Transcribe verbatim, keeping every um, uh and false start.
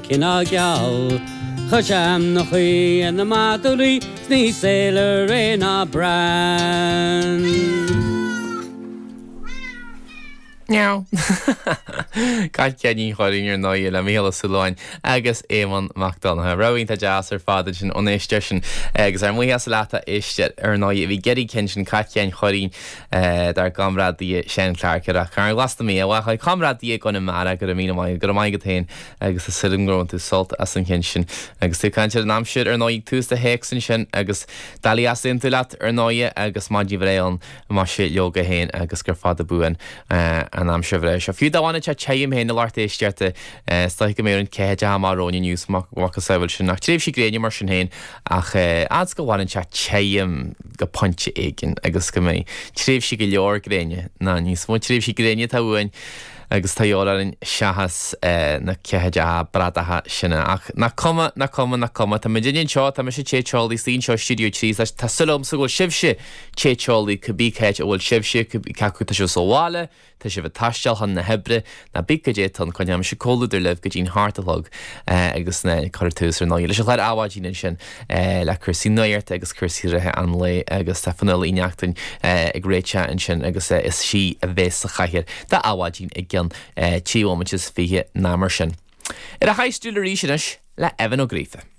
Cineál geal Cha sean na chuí na madúí ní saoler ré ná bran. Meow. Cat Sheáinín Chóilín ar ndóigh le Mícheál Ó Súilleabháin agus Éamonn Mac Donncha. Rogha iontach deas ar fad sin ón éisteoir sin agus ár mbuíochas leat a éisteoir ar ndóigh a bhí ag iarraidh an ceann sin Cat Sheáin Chóilín dár gcomrádaí Seán Clarke ar Carn Glas na Mí. Bhuel comrádaí i gConamara go raibh míle maith go raibh maith agat féin agus tá súil agam gur bhain tú sult as an cheann sin. Agus tú ag caint ar an aimsir ar ndóigh tús do théacs ansin agus doiligh easaontú leat ar ndóigh agus maidin bhreá ann más é leoga féin agus gur fada buan an aimsir bhreá seo. Fiú dá bhfanadh sé tirim féin a lucht éisteachta is dóigh go mbeidh an ceathair amach romhainn inniu macasamhail sin ach tréimhsí gréine mar sin féin ach fhad is go bhfanann sé tirim go pointe éigin agus go mbeidh tréimhsí go leor gréine ná níos mó tréimhsí gréine atá uainn agus tá orainn seachas na ceathaideacha bradacha sin ach nach cuma nach cuma nach cuma Tá muid anseo tá mise te teolaí anseo Studio trí tá súil agamsa go bhfuil sibhse te teolaí cibé cá háit a bhfuil sibhse cé acu tá sibh sa bhaile, tá sibh ag taisteal chun na hoibre nó cibé cad é tá coinneoidh mise comhluadar libh go dtí'n hocht a chlog agus na cuir tús ar ndóigh leis an chlár Adhmhaidin ansin le cúrsaí nuachta agus cúrsaí reatha an lae agus tá Fionnuala Uí Neachtain ag réiteach ansin agus is sí a bheas sa chathaoir d'Adhmhaidin i gcionn trí bhomaite is fiche ná mar sin. Ar a haistriú arís anois le Evan Ó Gríofa.